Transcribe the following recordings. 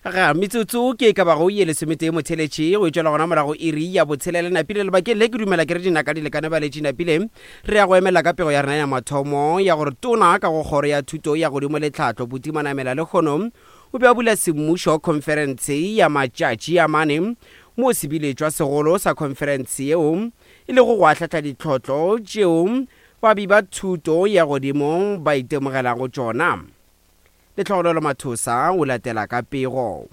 Ga metsotso ke e ka bago ye lesometee motheletši go etšwela gona morago iri ya botshelela napile lebakeng le ke dumela ke re dinaka di lekane baletši napile re ya go emela ka pego ya rena ya mathomo ya gore tona ka go kgoro ya thuto ya godimo le tlhahlo Buti Manamela lekgono o be a bula semmušo khonferense ya matšatši a mane mo sebiletšwa segolo sa khonferense yeo e lego go ahlahla ditlhotlo tšeo babi ba thuto ya godimo ba itemogelago tšona. Lehlogonolo Mathosa o latela ka pego.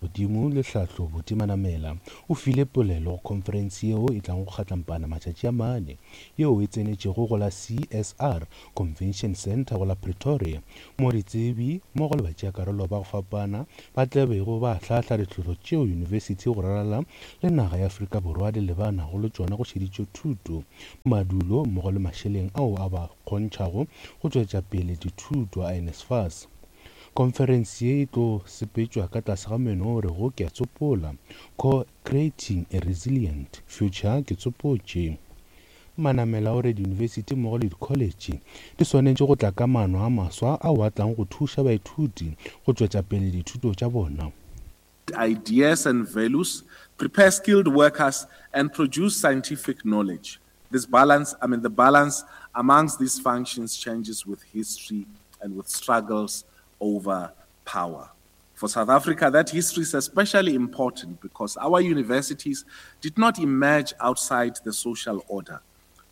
Godimo le hlahlo Buti Manamela o file polelo go khonferense yeo e tlago go kgatlampana matšatši a mane yeo e tsenetšego go la CSR Convention Centre go la Pretoria mo ditsebi mmogo le batšeakarolo ba go fapana ba tla bego ba ahlaahla ditlhohlo tšeo yunibesithi go ralala le naga ya Afrika Borwa di lebanago le tšona go šeditšwe thuto, madulo mmogo le mašeleng ao a ba kgontšhago go tšwetša pele dithuto a NSFAS. Khonferense ye e tlo sepetšwa ka tlase ga meno o rego Ke a Tsopola, Co-Creating a Resilient Future, Ke Tsopotše. Manamela o re diyunibesithi mmogo le dikholetše di swanetše go tla ka maano a maswa ao a tlang go thuša baithuti go tšwetša pele dithuto tša bona. Ideas and values, prepare skilled workers and produce scientific knowledge. This balance, I mean the balance amongst these functions changes with history and with struggles over power. For South Africa, that history is especially important because our universities did not emerge outside the social order.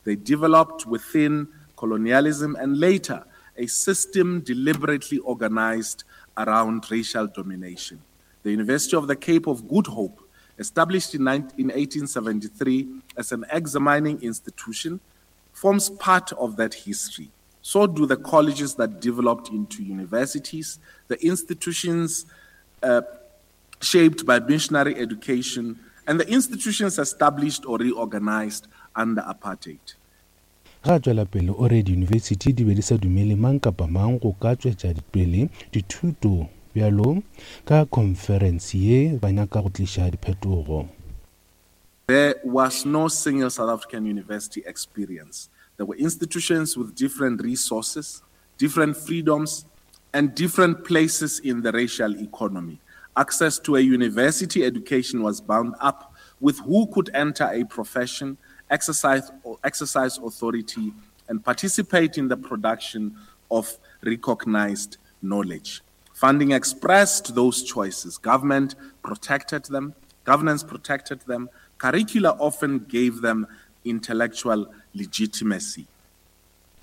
They developed within colonialism and later a system deliberately organized around racial domination. The University of the Cape of Good Hope, established in, 19, in 1873 as an examining institution, forms part of that history. So do the colleges that developed into universities, the institutions uh, shaped by missionary education, and the institutions established or reorganized under apartheid. Ge a tšwela pele o re diyunibesithi di be di sa dumele mang kapa mang go ka tšwetša pele dithuto bjalo ka khonferense ye ba nyaka go tliša diphetogo. There was no single South African university experience. There were institutions with different resources, different freedoms, and different places in the racial economy. Access to a university education was bound up with who could enter a profession, exercise, exercise authority, and participate in the production of recognized knowledge. Funding expressed those choices. Government protected them, governance protected them, curricula often gave them intellectual legitimacy.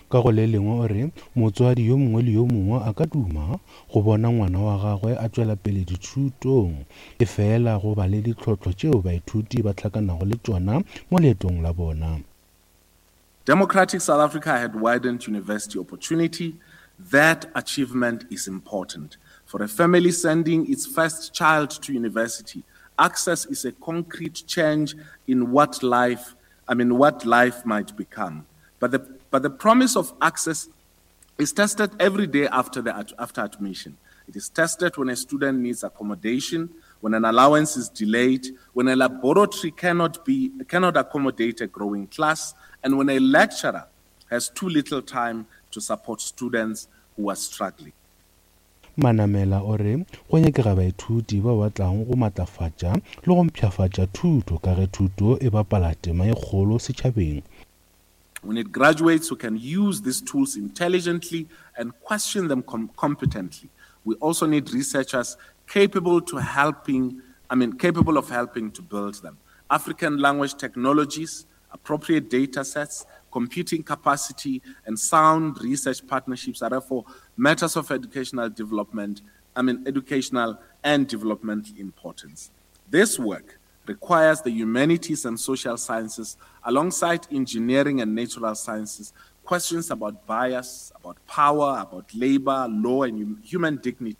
Ka go le lengwe o re motswadi yo mongwe le yo mongwe a ka duma go bona ngwana wa gagwe a tšwela pele dithutong, efela go ba le ditlhohlo tšeo baithuti ba hlakanago le tšona mo leetong la bona. Democratic South Africa had widened university opportunity. That achievement is important. For a family sending its first child to university, access is a concrete change in what life, I mean, what life might become. But the, but the promise of access is tested every day after, the, after admission. It is tested when a student needs accommodation, when an allowance is delayed, when a laboratory cannot, be, cannot accommodate a growing class, and when a lecturer has too little time to support students who are struggling. Manamela o re go nyakega baithuti bao ba tlago go matlafatša le go mpshafatša thuto ka ge thuto e bapala tema e kgolo setšhabeng. We need graduates who can use these tools intelligently and question them com competently. We also need researchers capable to helping, I mean, capable of helping to build them. African language technologies, appropriate data sets, computing capacity, and sound research partnerships are therefore matters of educational development, I mean, educational and developmental importance. This work requires the humanities and social sciences, alongside engineering and natural sciences, questions about bias, about power, about labor, law, and human dignity.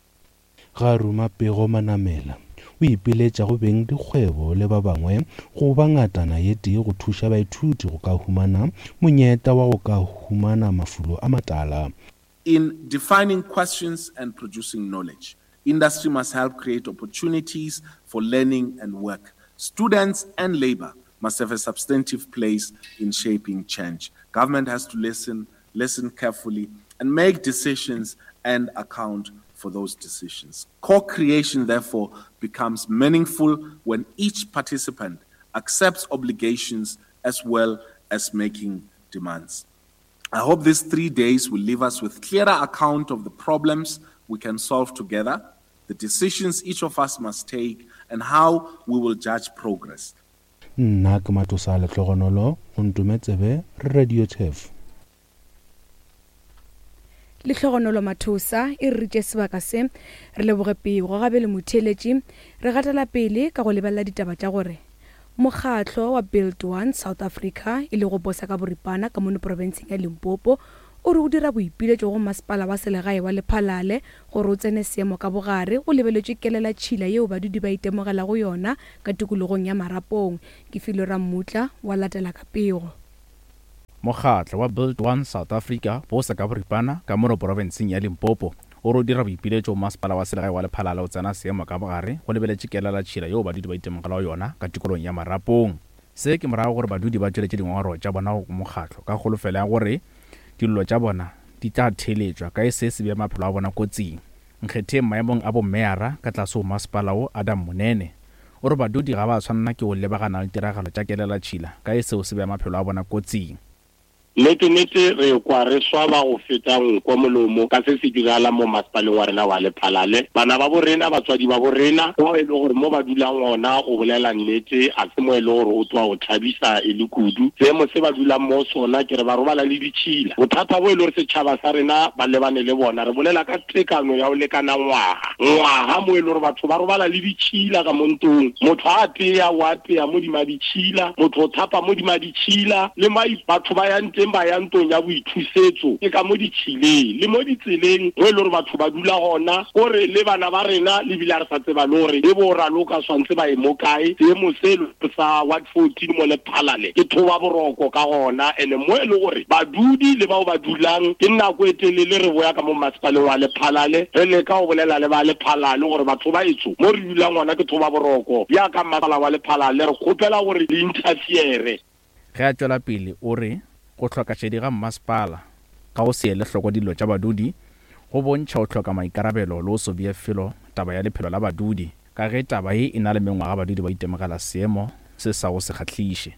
Ga ruma pego Manamela o ipiletša go beng dikgwebo le ba bangwe go ba ngatana ye tee go thuša baithuti go ka humana monyetla wa go ka humana mafulo a matala. In defining questions and producing knowledge, industry must help create opportunities for learning and work. Students and labor must have a substantive place in shaping change. Government has to listen, listen carefully, and make decisions and account for those decisions. Co-creation, therefore, becomes meaningful when each participant accepts obligations as well as making demands. I hope these three days will leave us with clearer account of the problems we can solve together, the decisions each of us must take, and how we will judge progress. Nna ke Matosa Lehlogonolo, go Ntume Tsebe, Radio Turf. Lehlogonolo Mathosa e re ritše sebaka se. Re leboge pego gabe le motheeletši. Re gatela pele ka go lebelela ditaba tša gore mokgatlo wa Build One South Africa e lego bosa ka boripana ka mono profenseng ya Limpopo o re o dira boipiletšo go masepala wa selegae wa Lephalale gore o tsene seemo ka bogare go lebeletšwe kelelatšhila yeo badudi ba itemogelago yona ka tikologong ya Marapong. Ke Filwe Rammutla wa latela ka pego. Mokgatlo wa Build One South Africa, bosa ka boripana, ka mono porofenseng ya Limpopo, o re o dira boipiletšo go masepala wa selegae wa Lephalale o tsena seemo ka bogare go lebeletše kelelatšhila yeo badudi ba itemogelago yona ka tikologong ya Marapong. Se ke morago gore badudi ba tšweletše dingongorego tša bona go mokgatlo ka kholofelo ya gore dillo tša bona di tla theeletšwa ka ge se se bea maphelo a bona kotsing. Nkgetheng maemong a bommeyara ka tlase go masepala wo Adam Monene o re badudi ga ba tshwanela ke go lebagana le tiragalo tša kelelatšhila ka ge seo se bea maphelo a bona kotsing. Nnete-nnete re kwa re swaba go feta nko molomo ka se se diragalang mo masepaleng wa rena wa Lephalale. Bana ba bo rena, batswadi ba bo rena, bao e le gore mo ba dulang gona go bolela nnete ga se mo e le gore o tloga o thabisa e le kudu. Seemo se ba dulang mo sona ke re ba robala le ditšhila. Bothata bo e le gore setšhaba sa rena ba lebane le bona, re bolela ka tekano ya go lekana ngwaga ngwaga mo e le gore batho ba robala le ditšhila ka mo ntong. Motho a apea, o apea modima ditšhila, motho o thapa modima ditšhila, le ma batho ba yang teng ba ya ntong ya boithusetso ke ka mo ditšhileng, le mo ditseleng mo e le gore batho ba dula gona, kore le bana ba rena le bile a re sa tseba le gore e bo raloka swantse ba ye mo kae. Seemo se sa ward 14 mo Lephalale ke thoba boroko ka gona, ene mo e le gore badudi le bao ba dulang ke nako e telele re boya ka mo masepaleng wa Lephalale re leka go bolela le ba Lephalale gore batho ba etso mo re dulang gona ke thoba boroko bjaka masepala wa Lephalale re kgopela gore le interfere. Ge a tšwela pele o re go hloka šedi ga mmasepala ka go se ele hloko dillo tša badudi go bontšha go hloka maikarabelo le go se bee felo taba ya lephelo la badudi ka ge taba ye e na le mengwaga badudi ba itemogela seemo se sa go se kgahliše.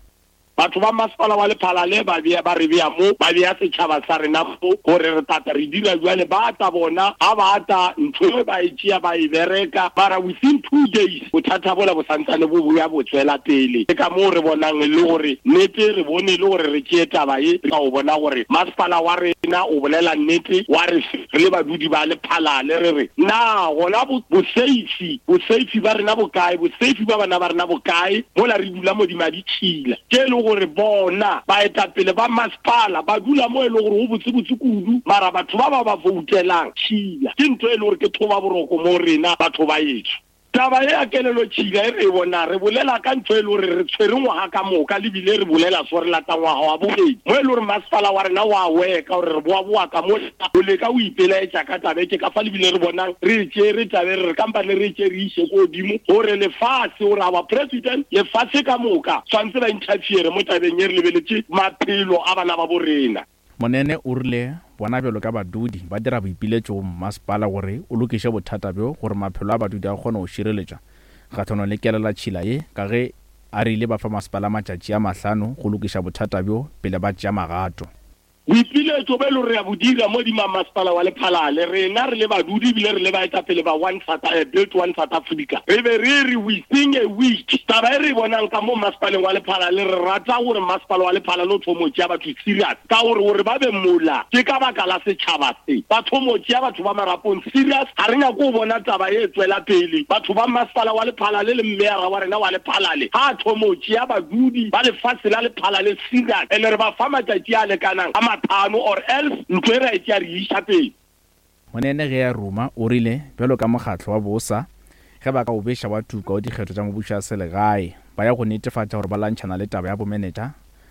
Batho ba masepala wa Lephalale ba bea, ba re bea mo, ba bea setšhaba sa rena mo, gore re tla tla re dira bjale. Ba tla bona, ga ba tla, ntho e ba e tšea ba e bereka, mara within two days bothata bola bo santsane bo boya bo tswela pele. Ke ka moo re bonang e le gore nnete, re bone e le gore re tšee taba ye, ka go bona gore masepala wa rena o bolela nnete, wa re re le badudi ba Lephalale re re, na gona bo, boseifi, boseifi ba rena bo kae, boseifi ba bana ba rena bo kae, mola re dula modima ditšhila tše e le gore bona baetapele ba masepala ba dula mo e le gore go botsebotse kudu, mara batho ba ba ba voutelang tšhila ke ntho e le gore ke thoba boroko mo rena batho ba etso. Taba ye ya kelelo tšhila e re e bonang, re bolela ka ntho e le gore re tshwere ngwaga ka moka le bile re bolela so re lata ngwaga wa bobedi mo e le gore masepala wa rena wa weka gore re boa-boa ka mo o leka o ipelaetša ka taba e. Ke ka fa le bile re bonang re e tšere taba e re re kampane re e tšere re iše ko godimo gore lefase gore our president lefase ka moka tshwanetse ba interfere mo tabeng e re lebeletše maphelo a bana ba bo rena. Monene o rile bona bjalo ka badudi ba dira boipiletšo go mmasepala gore o lokiše bothata bjo gore maphelo a badudi a kgone go šireletšwa kgahlanong le kelelatšhila ye ka ge a rile ba fa masepala matšatši a mahlano go lokiša bothata bjo pele ba tšea magato. Boipiletšo bo e le gore re a bo dira mo dima masepala wa Lephalale, rena re le badudi ebile re le baetapele ba One South, eh, Build One South Africa, re be re re within a week taba e re e bonang ka mo masepaleng wa Lephalale, re rata gore masepala wa Lephalale o thomo tšea batho serious ka gore gore ba be mola ke ka baka la setšhaba se, ba thomo tšea batho ba Marapong serious. Ga re nyake go bona taba e tswela pele. Batho ba masepala wa Lephalale le mmeyara wa rena wa Lephalale ga a thomo tšea badudi ba lefase la Lephalale serious, and re ba fa matšatši a lekanang a mathano or else ntlo e ra e tšea re e iša pele. Monene ge a ruma o rile bjalo ka mokgatlo wa bosa ge ba ka o beša wa tuka o dikgetho tša mebušo ya selegae ba ya go netefatša gore ba lwantšhana le taba ya bomenetša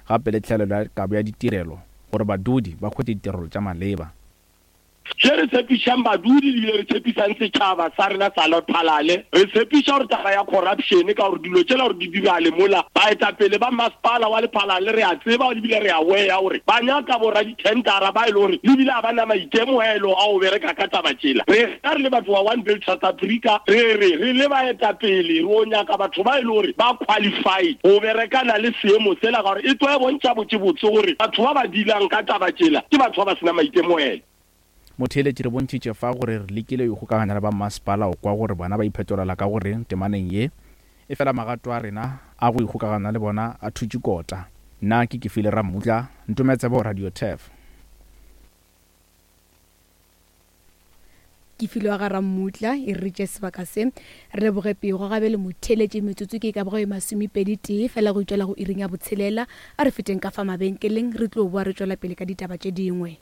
gape le tlhaelelo ya kabo ya ditirelo gore badudi ba hwetše ditirelo tša maleba. Še re tshepišang badudi ebile re tshepisang setšhaba sa rena sa Lephalale, re tshepiša gore taba ya corruption, ka gore dilo tšela gore di diragale mola, baetapele ba masepala wa Lephalale re a tseba ebile re aware gore ba nyaka boradithendara ba e le gore ebile ga ba na maitemogelo a go bereka ka taba tšela. Rena re le batho ba One Build South Africa re re re le baetapele re o nyaka batho ba e le gore ba qualified go berekana le seemo sela, ka gore e tlo e bontšha botsebotse gore batho ba ba dealang ka taba tšela ke batho ba ba sena maitemogelo. Motheeletši re bontšhitše fa gore re lekile go ikgokaganya le ba mmasepala go kwa gore bona ba iphetolela ka go reng temaneng ye, efela magato a rena a go ikgokagana le bona a thutše kota. Nna ke Kefile Rammutla, Ntometsebo Radio Turf. Kefile wa ga Rammutla e re tše sebaka se re leboge pego gabe le motheeletši metsotso ke e ka bago e masomepedi tee fela go itšwela go iring ya botshelela. A re feteng ka fa mabenkeleng re tlo boa re tšwela pele ka ditaba tše dingwe.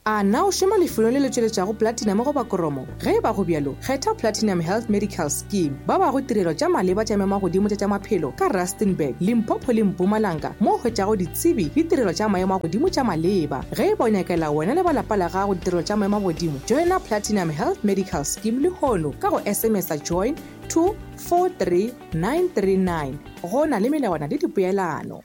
A na o šoma lefelong le le tšweletšago platinum goba koromo? Ge e ba go bjalo, kgetha Platinum Health Medical Scheme. Ba bago tirelo tša maleba tša maemagodimo tša tša maphelo ka Rustenburg, Limpopo le Mpumalanga mo o hwetšago ditsebi le tirelo tša maemo a godimo tša maleba. Ge e ba o nyakela wena le ba lapa la gago ditirelo tša maemo a godimo, joina Platinum Health Medical Scheme lehono ka go SMS-a join to 43939. Go na le melawana le dipoelano.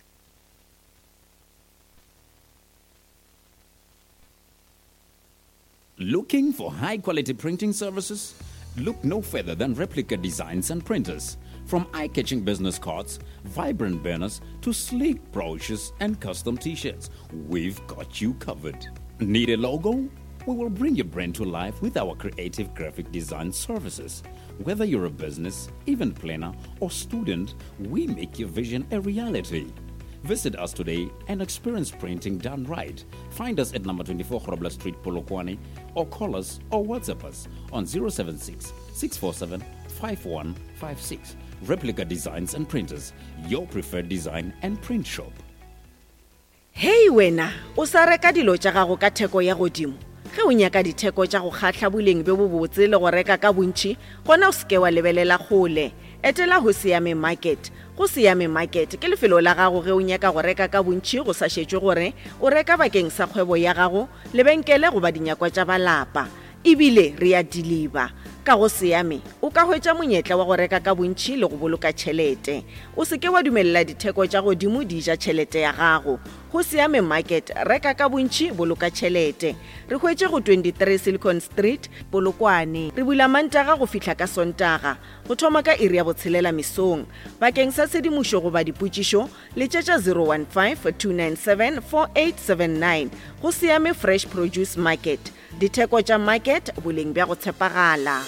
Looking for high quality printing services? Look no further than Replica Designs and Printers. From eye catching business cards, vibrant banners, to sleek brochures and custom t shirts, we've got you covered. Need a logo? We will bring your brand to life with our creative graphic design services. Whether you're a business, event planner, or student, we make your vision a reality. Visit us today and experience printing done right. Find us at number 24 Grobler Street, Polokwane, or call us or WhatsApp us on 076 647 5156. Replica Designs and Printers, your preferred design and print shop. Hei wena, o sa reka dilo tša gago ka theko ya godimo? Ge o nyaka ditheko tša go kgahla, boleng bjo bobotse le go reka ka bontši, gona o se ke wa lebelela kgole. Etela Hosiame Market. Go Siame Market ke lefelo la gago ge o nyaka go reka ka bontši go sa šetšwe gore o reka bakeng sa kgwebo ya gago, lebenkele goba dinyakwa tša ba lapa. E bile re a diliba. Ka go Siame o ka hwetša monyetla wa go reka ka bontši le go boloka tšhelete. O se ke wa dumelela ditheko tša godimo di ja tšhelete ya gago. Go Siame Market, reka ka bontši, boloka tšhelete. Re hwetše go 23 Silicon Street, Polokwane. Re bula Mantaga go fihla ka Sontaga, go thoma ka iri ya botshelela mesong. Bakeng sa tshedimošo goba dipotšišo, letšetša 015-297-4879. Go Siame Fresh Produce Market, ditheko tša market, boleng bja go tshepagala.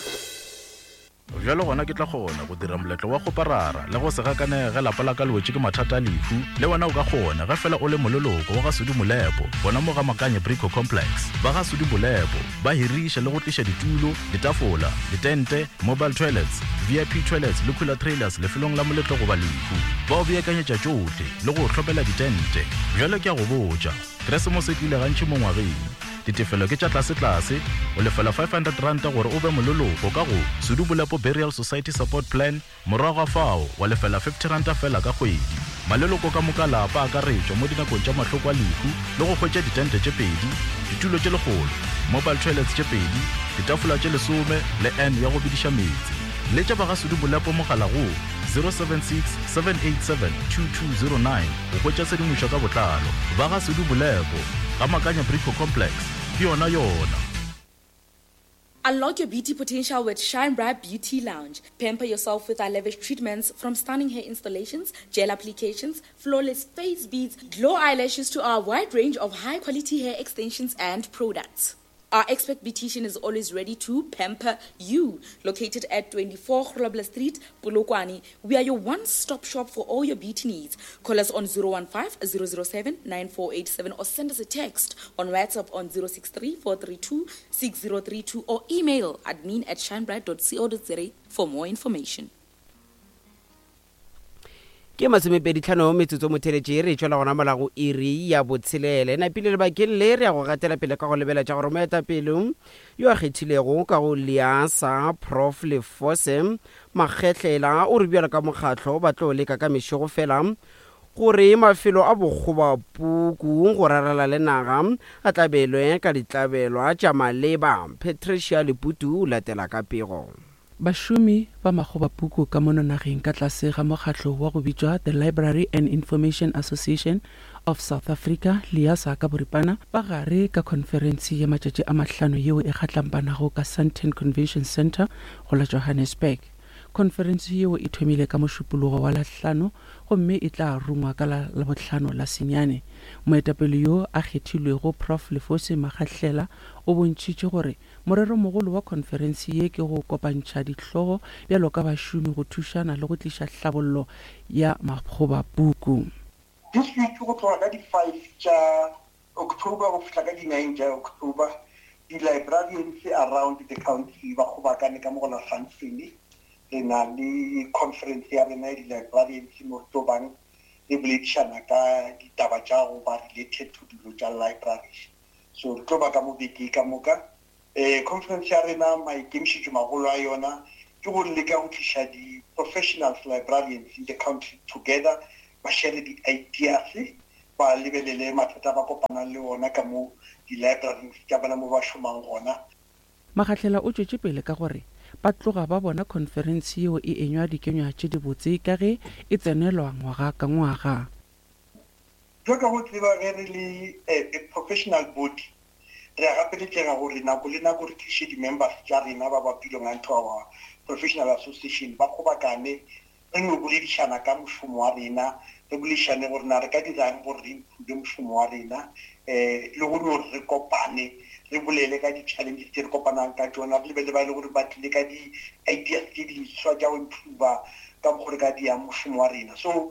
Bjalo gona ke tla kgona go dira moletlo wa kgoparara le go se gakanege ge lapa la ka le wetše ke mathata a lehu. Le wena o ka kgona ge fela o le moleloko wa ga Sudi Molepo gona mo ga Makanye Brico Complex. Ba ga Sudi Molepo ba hiriša le go tliša ditulo, ditafola, ditente, mobile toilets, VIP toilets le cooler trailers lefelong la moletlo goba lehu. Ba o beakanyetša tšohle le go o hlomela ditente. Bjalo ke a go botša, Keresemose e tlile gantši mo ngwageng. Ditefelo ke tša tlasetlase, o lefela R500 gore o be moleloko ka go Sedubolepo Burial Society Support Plan, morago ga fao wa lefela R50 feela ka kgwedi. Maleloko ka moka a lapa a akaretšwa mo dinakong tša mahloko a lehu le go hwetša ditente tše pedi, ditulo tše lekgolo, mobile toilets tše pedi, ditafola tše lesome le urn ya go bediša meetse. Letša ba ga Sedubolepo mogala go 076 787 2209 go hwetša tshedimošo ka botlalo. Ba ga Sedubolepo. Ga Makanya Brico Complex, ke yona yona. Unlock your beauty potential with Shine Bright Beauty Lounge. Pamper yourself with our lavish treatments from stunning hair installations, gel applications, flawless face beads, glow eyelashes to our wide range of high quality hair extensions and products. Our expert beautician is always ready to pamper you. Located at 24 Grobler Street, Polokwane, we are your one-stop shop for all your beauty needs. Call us on 015 007 9487 or send us a text on WhatsApp on 063 432 6032 or email admin at shinebright.co.za for more information. Ke masomepeditlhano metsotso motheletše re tšwela gona mola go iri ya botshelele. Napile lebakeng le re ya go gatela pele ka go lebela tša gore moetapele yo a kgethilego ka go Liasa Prof Lefose Makgehlela o re bjalo ka mokgatlo ba tlo leka ka mešego fela gore mafelo a bokgobapuku go rarela le naga a tlabelwe ka ditlabelwa tša maleba. Patricia Leputu o latela ka pego. Bašomi ba makgobapuku ka mono nageng ka tlase ga mokgatlo wa go bitšwa The Library and Information Association of South Africa, LIASA ka boripana, ba gare ka khonferense ya matšatši a mahlano yeo e kgatlampanago ka Sandton Convention Centre go la Johannesburg. Khonferense yeo e thomile ka Mošupologo wa Lahlano gomme e tla rungwa ka la Labohlano la senyane. Moetapele yo a kgethilwego Prof Lefosi Makgahlela o bontšhitše gore moreromogolo wa khonferense ye ke go kopantšha dihlogo bjalo ka bašomi go thušana le go tliša hlabollo ya makgobapuku. This week go tloga ka di five tša October go fihla ka di nine tša October, di-librarians around the country ba kgobakane ka mo go la Sandton. Re na le conference ya rena ya di-librarians mo re tlo bang re boledišana ka ditaba tša go ba related to dilo tša libraries. So re tlo ba ka mo beke ka moka. Um conference ya rena maikemišetšo magolo a yona ke go leka go tliša di-professionals librarians in the country together ba share di-ideas ba lebelele mathata a ba kopanang le ona ka mo di-libraring tša bona mo ba šomang gona. Magahlela o tšwetše pele ka gore ba tloga ba bona khonferense yeo e enywa dikenywa tše dibotse ka ge e tsenelwa ngwaga ka ngwaga. Bjalo ka go tseba ge re le a professional body re a gapeletšega gore nako le nako re tliše di-members tša rena ba ba belongang to our professional association ba kgobakane re no boledišana ka mošomo wa rena, re boledišane gore na re ka dirang gore re improve mošomo wa rena, um le go no re kopane re bolele ka di-challenges tše re kopanang ka tšona, re lebelele ba e le gore ba tlile ka di-ideas tše diswa tša go improva ka mokgo re ka diang mošomo wa rena. So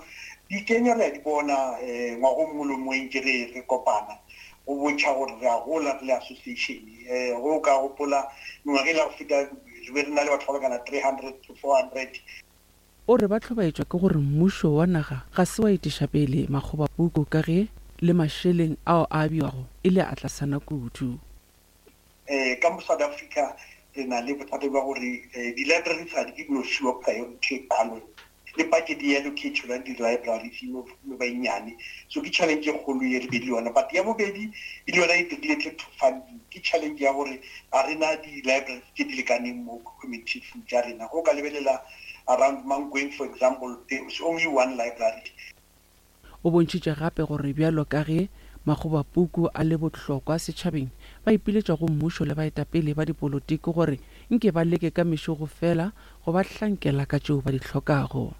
dikenya re a di bona um ngwaga o mongwe le o mongwe ntše re re kopana go bontšha gore re a gola re le association. Um ge o ka gopola mengwaga e la go feta re be re na le batho ba lekana 300 to 400. O re ba hlobaetšwa ke gore mmušo wa naga ga se wa etiša pele makgobapuku ka ge le mašeleng ao a abiwago e le a tlasana kudu. Ka mo South Africa re na le bothata bja gore di-libraries ga di ke di no fiwa priority e kalo, le budget e allocate-elwang di-libraries e no ba e nnyane. So ke challenge e kgolo ye re be le yona. But ya bobedi e le yona e related to funding, ke challenge ya gore ga re na di-libraries tše di lekaneng mo communities tša rena. Ge o ka lebelela around Mankweng for example, there is only one library. O bontšhitše gape gore bjalo ka ge makgobapuku a le bohlokwa setšhabeng, ba ipiletša go mmušo le baetapele ba dipolotiki gore nke ba leke ka mešogo fela go ba hlankela ka tšeo ba di hlokago.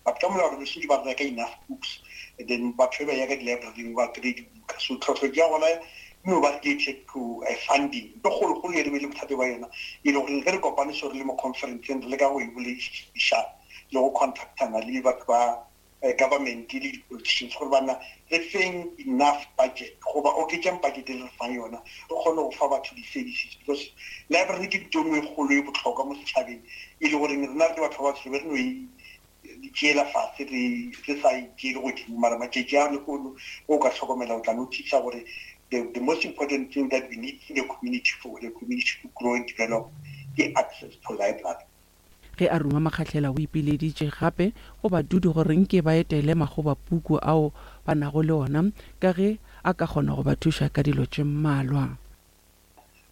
But ka molao re be šetše ba reka enough books and then batho ge ba eya ka di-library-ing ba kry-e dibuka. So tlhohlo ya gona e no ba related to funding. Ntho e kgolokgolo e re be le bothata ba yona e le gore ge re kopane so re le mo conference-eng re leka go e bolediša le go contactana le batho ba government le di-politicians gore banna re feng enough budget goba oketšang budget e le re fang yona re kgone go fa batho di-services because library ke ntho e nngwe e kgolo e bohlokwa mo setšhabeng e le goreng rena re le batho ba batsho re be re no e di tšeela fase re re sa e tšeele godimo mara matšatši a lehono o ka hlokomela o tla notice gore the, the most important thing that we need in the community for the community to grow and develop ke access to library. Ge a ruma Makgahlela o ipileditše gape go badudi gore nke ba etele makgobapuku ao ba nago le ona ka ge a ka kgona go ba thuša ka dilo tše mmalwa.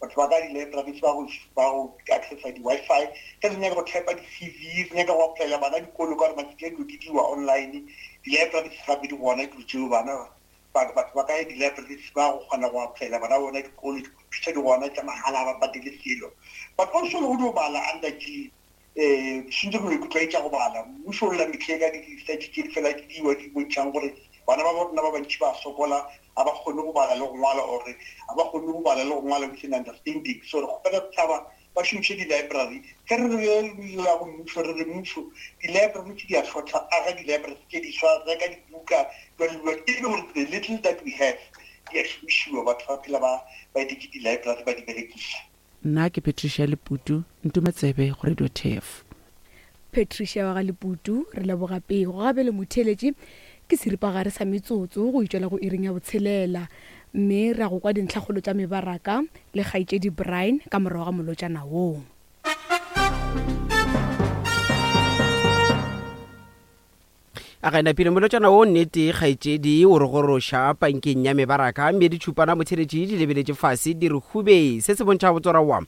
Batho ba ka di-libraries ba go ba go accessa di-Wi-Fi ge re nyaka go typa di-C_V re nyaka go applyela bana dikolo ka gore matšatši a dilo di diriwa online di-libraries gape di gona dilo tšeo bana batho ba ka ya di-libraries ba go kgona go applyela bana bona dikolo di-computer di gona tša mahala ga ba patele selo but also le go dio bala under ke um sentse re no ikutlwaetša go bala mmušo o lla metlhe ka di-research tše di fela di diwa di bontšhang gore bana ba rona ba bantši ba sokola ga ba kgone go bala le go ngwala ore ga ba kgone go bala le go ngwala with an understanding so re kgopela setšhaba ba šomiše di-library ge re re la go mmušo re re mmušo di-library tše di a hlotla aga di-library tše diswa reka dibuka jwale jwale e le gore the little that we have di a šomišiwa batho ba phela ba ba etetše di-library ba di berekiša. Nna ke Patricia Leputu, ntume tsebe go Radio Turf. Patricia wa ga Leputu, re leboga pego. Gabe le motheeletši ke seripagare sa metsotso go itšwela go iring ya botshelela mme ra go kwa dintlhakgolo tša mebaraka le kgaetšedi Brian ka morago ga molotšana woo. A ga e napile molotšana wo nnete kgaetšedi o re goroša pankeng ya mebaraka mme ditšhupana motheletši di lebeletše fase di re hube. Se se bontšha botsora wa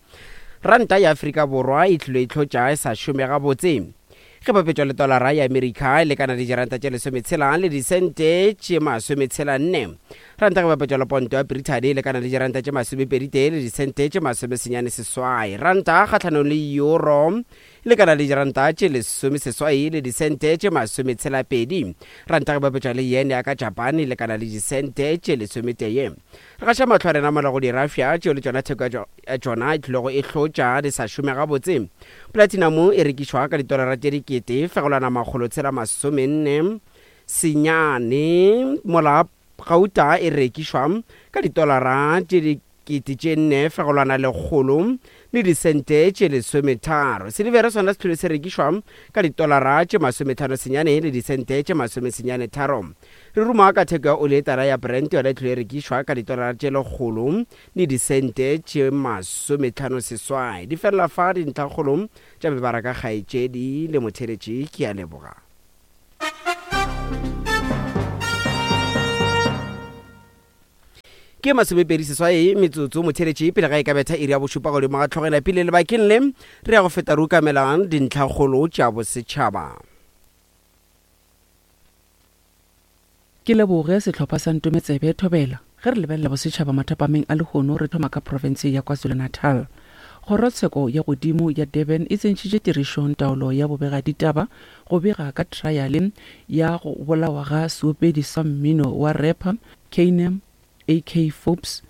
ranta ya Afrika Borwa e tlilo e hlotša e sa šome gabotse. Ge bapetšwa le tolara ya Amerika e lekana le diranta tše lesometshela le disente tše masometshela nne. Ranta ge bapetšwa le ponto ya Brithani e lekana le diranta tše masomepeditee le disente tše masomesenyane seswai. Ranta kgahlanong le euro e lekana le diranta tše lesomeseswai le disente tše masometshela-pedi. Ranta ge bapetšwa le yen ya ka Japan e lekana le disente tše lesometee. Re gaša mahlo a rena mola go dirafša tšeo le tšona theko ya tšona e tlilego e hlotša di sa šome gabotse. Platinum e rekišwa ka ditolara tše dikete fegelwana makgolotshela masomenne senyane mola gauta e rekišwa ka ditolara tše dikete tše nne fegelwana lekgolo le disente tše lesometharo. Silivere sona se tlile se rekišwa ka ditolara tše masometlhano senyane le disente tše masomesenyane tharo. Re ruma ka theko ya oli e tala ya Brent yona e tlile e rekišwa ka ditolara tše lekgolo le disente tše masometlhano seswai. Di felela fa dintlhakgolo tša mebaraka kgaetšedi le motheeletši. Ke a leboga. Ke masomepedi seswai metsotso motheeletši pele ga e ka betha iri ya bošupa godimo ga tlhogela pele lebakeng le re ya go feta re ukamelang dintlhakgolo tša bosetšhaba. Ke leboge sehlopha sa Ntometsebe Thobela. Ge re lebelela bosetšhaba mathapameng a lehono re thoma ka profense ya KwaZulu-Natal. Kgorotsheko ya godimo ya Durban e tsentšhitše tirišong taolo ya bobegaditaba go bega ka triale ya go bolawa ga seopedi sa mmino wa rapper Kaynem AK Forbes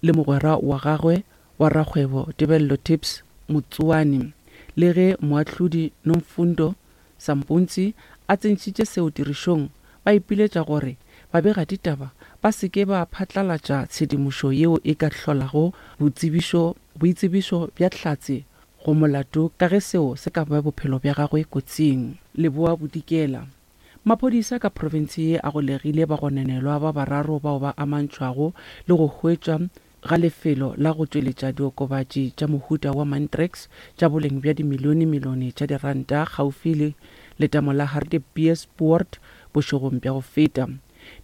le mogwera wa gagwe wa rakgwebo Tebello Tips Motsoane. Le ge moahlodi Nomfundo Sampontsi a tsentšhitše seo tirišong, ba ipiletša gore babegaditaba ba se ke ba phatlalatša tshedimošo yeo e ka hlolago botsebišo boitsebišo bja hlatse go molato ka ge seo se ka bea bophelo bja gagwe kotsing. Leboa Bodikela. Maphodisa ka profense ye a golegile bagononelwa ba bararo bao ba amantšhwago le go hwetšwa ga lefelo la go tšweletša diokobatši tša mohuta wa Mantrax tša boleng bja dimilionemilione tša diranta kgaufi le letamo la Hartbeespoort bošegong bja go feta.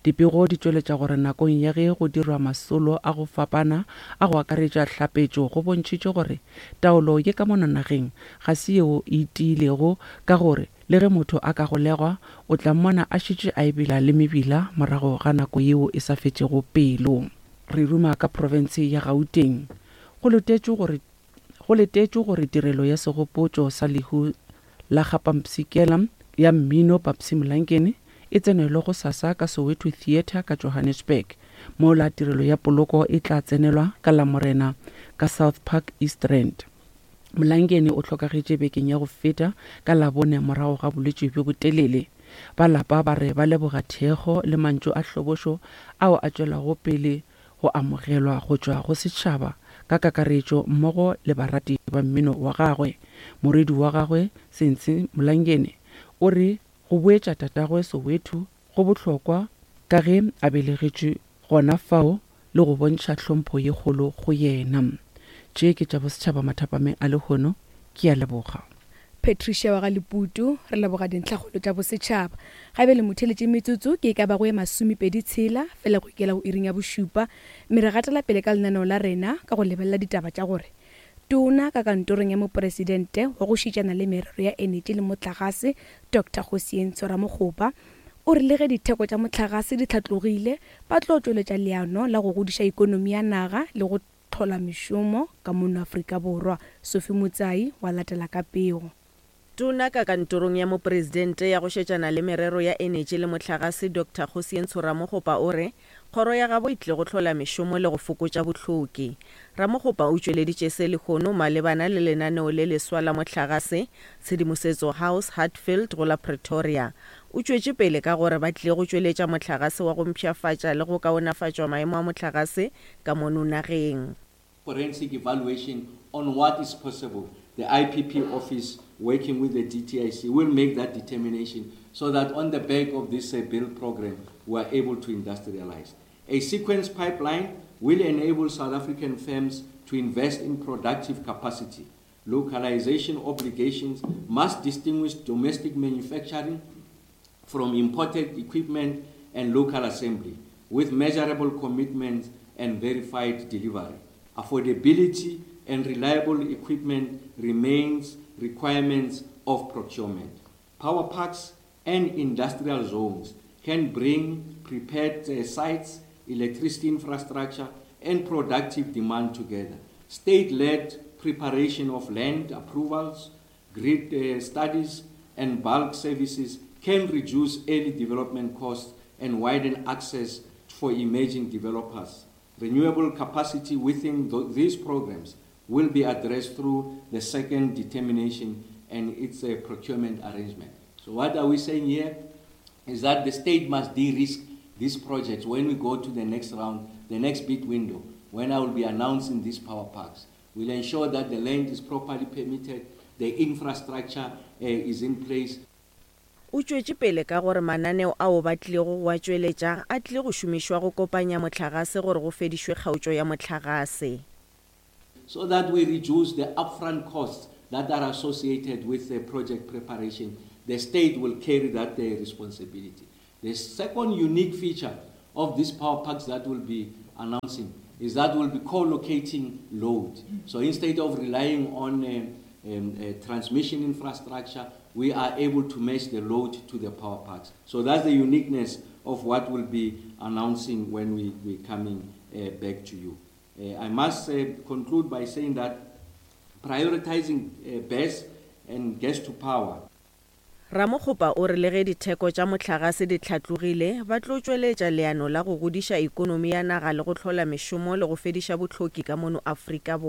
Dipego di tšweletša gore nakong ya ge go dirwa masolo a go fapana a go akaretša hlapetšo go bontšhitše gore taolo ye ka mono nageng ga se yeo e tiilego ka gore le ge motho a ka golegwa o tla mmona a šetše a ebela le mebila morago ga nako yeo e sa fetšego pelo. Re ruma ka profense ya Gauteng. Go letetšwe gore Go letetšwe gore tirelo ya segopotšo sa lehu la ga Pampsikela ya mmino Papsy Mlangeni e tsenelwe gosasa ka Soweto Theatre ka Johannesburg, mola tirelo ya poloko e tla tsenelwa ka Lamorena ka South Park East Rand. Mlangeni o hlokagetše bekeng ya go feta ka Labone morago ga bolwetši bjo botelele. Ba lapa ba re ba leboga thekgo le mantšu a hlobošo ao a tšwelago pele go amogelwa go tšwa go setšhaba ka kakaretšo mmogo le barati ba mmino wa gagwe. Morwedi wa gagwe, Sensi Mlangeni, o re go boetša tatagwe Soweto go bohlokwa ka ge a belegetšwe gona fao le go bontšha hlompho ye kgolo go yena. Tše ke tša bosetšhaba mathapameng a lehono. Ke a leboga. Patricia wa ga Leputu, re leboga dintlhakgolo tša bosetšhaba. Ga bjale motheeletše metsotso ke e ka bago ye masomepedi tshela fela go ikela go iring ya bošupa, mme re gatela pele ka lenaneo la rena ka go lebelela ditaba tša gore Tona ka kantorong ya Mopresidente wa go šitšana le merero ya enetši le motlagase Doctor Kgosientsho Ramokgopa o re le ge ditheko tša mohlagase di hlatlogile ba tlo tšweletša leano la go godiša ikonomi ya naga le go hlola mešomo ka mono Afrika Borwa. Sophie Motsai wa latela ka pego. Tona ka kantorong ya Mopresidente ya go šetšana le merero ya enetši le mohlagase Doctor Kgosientsho Ramokgopa o re kgoro ya gabo e tlile go hlola mešomo le go fokotša bohloki. Ramokgopa o tšweleditše se lehono malebana le lenaneo le leswa la mohlagase Tshedimosetso House, Hatfield go la Pretoria. O tšwetše pele ka gore ba tlile go tšweletša mohlagase wa go mpshafatša le go kaonafatšwa maemo a mohlagase ka mono nageng. Forensic evaluation on what is possible. The IPP office working with the DTIC will make that determination so that on the back of this uh, build program we are able to industrialize. A sequence pipeline will enable South African firms to invest in productive capacity. Localization obligations must distinguish domestic manufacturing from imported equipment and local assembly, with measurable commitments and verified delivery. Affordability and reliable equipment remains requirements of procurement. Power parks and industrial zones can bring prepared uh, sites, electricity infrastructure, and productive demand together. State-led preparation of land approvals, grid uh, studies, and bulk services can reduce early development costs and widen access for emerging developers. Renewable capacity within th these programs will be addressed through the second determination and its uh, procurement arrangement. So what are we saying here? Is that the state must de-risk these projects when we go to the next round, the next bid window, when I will be announcing these power parks. We'll ensure that the land is properly permitted, the infrastructure uh, is in place. O tšwetše pele ka gore mananeo ao ba tlilego go a tšweletša a tlile go šomišwa go kopanya mohlagase gore go fedišwe kgaotšo ya mohlagase. So that we reduce the upfront costs that are associated with the project preparation, the state will carry that uh, responsibility. The second unique feature of these power parks that we'll be announcing is that we'll be co-locating load. So instead of relying on uh, um, uh, transmission infrastructure, we are able to match the load to the power parks. So that's the uniqueness of what we'll be announcing when we, we're coming uh, back to you. Uh, I must uh, conclude by saying that prioritizing uh, BESS and gas to power Ramokgopa o re le ge ditheko tša mohlagase di hlatlogile, ba tlo tšweletša leano la go godiša ikonomi ya naga le go hlola mešomo le go fediša bohloki ka mono Afrika Borwa.